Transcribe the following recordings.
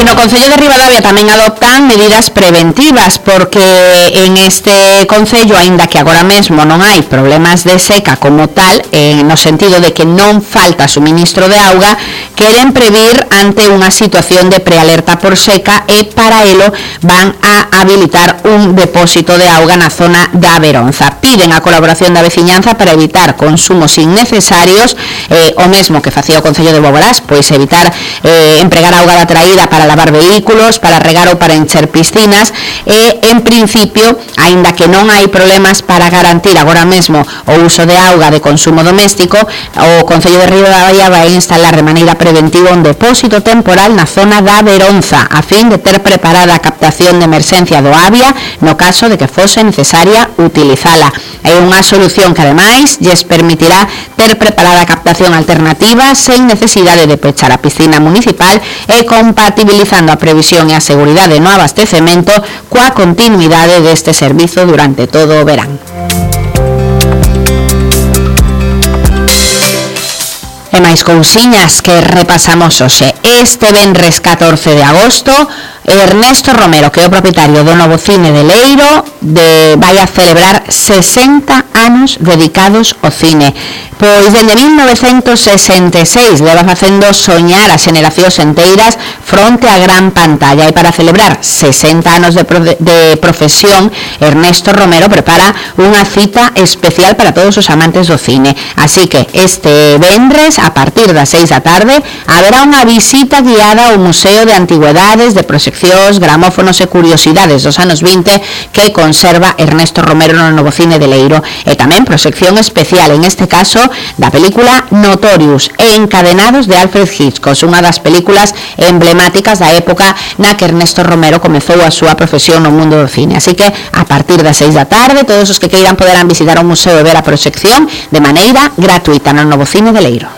no Concello de Ribadavia tamén adoptan medidas preventivas, porque en este concello, aínda que agora mesmo non hai problemas de seca como tal, no sentido de que non falta suministro de auga, queren previr ante unha situación de prealerta por seca e para elo van a habilitar un depósito de auga na zona da Veronza. Piden a colaboración da veciñanza para evitar consumos innecesarios, o mesmo que facía o Concello de Boborás, pois evitar empregar auga da traída para lavar vehículos, para regar ou para encher piscinas, e en principio, aínda que non hai problemas para garantir agora mesmo o uso de auga de consumo doméstico, o Concello de Ribadavia vai instalar de maneira preventiva un depósito temporal na zona da Veronza, a fin de ter preparada a captación de emerxencia do Avia no caso de que fose necesaria utilizala. É unha solución que ademais lles permitirá ter preparada a captación alternativa sen necesidade de pechar a piscina municipal e compatibilizando a previsión e a seguridade no abastecemento coa continuidade deste servizo durante todo o verán. E máis cousiñas que repasamos hoxe. Este venres 14 de agosto, Ernesto Romero, que é o propietario do novo cine de Leiro, vai a celebrar 60 anos dedicados ao cine. Pois dende 1966 leva facendo soñar a xeracións enteiras fronte á gran pantalla, e para celebrar 60 anos de profesión, Ernesto Romero prepara unha cita especial para todos os amantes do cine. Así que este vendres, a partir das 6 da tarde, haberá unha visita guiada ao Museo de Antigüedades, de proxeccións, gramófonos e curiosidades dos anos 20 que conserva Ernesto Romero no novo cine de Leiro, e tamén proxección especial, en este caso, da película Notorious e Encadenados de Alfred Hitchcock, unha das películas emblemáticas da época na que Ernesto Romero comezou a súa profesión no mundo do cine. Así que a partir das 6 da tarde, todos os que queiran poderán visitar o museo e ver a proxección de maneira gratuita no novo cine de Leiro.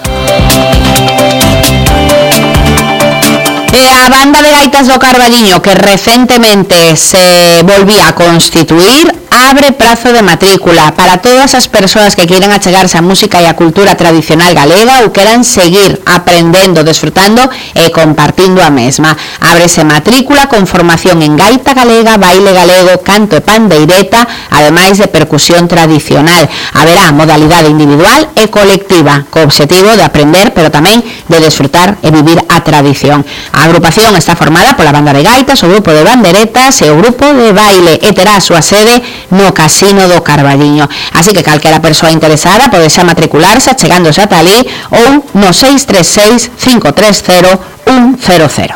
E a banda de gaitas do Carballiño, que recentemente se volvía a constituir, abre prazo de matrícula para todas as persoas que queiran achegarse a música e a cultura tradicional galega ou queran seguir aprendendo, desfrutando e compartindo a mesma. Ábrese matrícula con formación en gaita galega, baile galego, canto e pandeireta, ademais de percusión tradicional. Haberá modalidade individual e colectiva, co obxectivo de aprender, pero tamén de desfrutar e vivir a tradición. A agrupación está formada pola banda de gaitas, o grupo de banderetas e o grupo de baile, e terá a súa sede no Casino do Carballiño. Así que calquera persoa interesada pode xa matricularse achegándose ata ali ou no 636 530 100.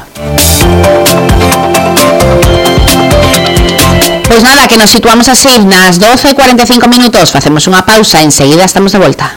Pois nada, que nos situamos así nas 12:45 minutos, facemos unha pausa, enseguida estamos de volta.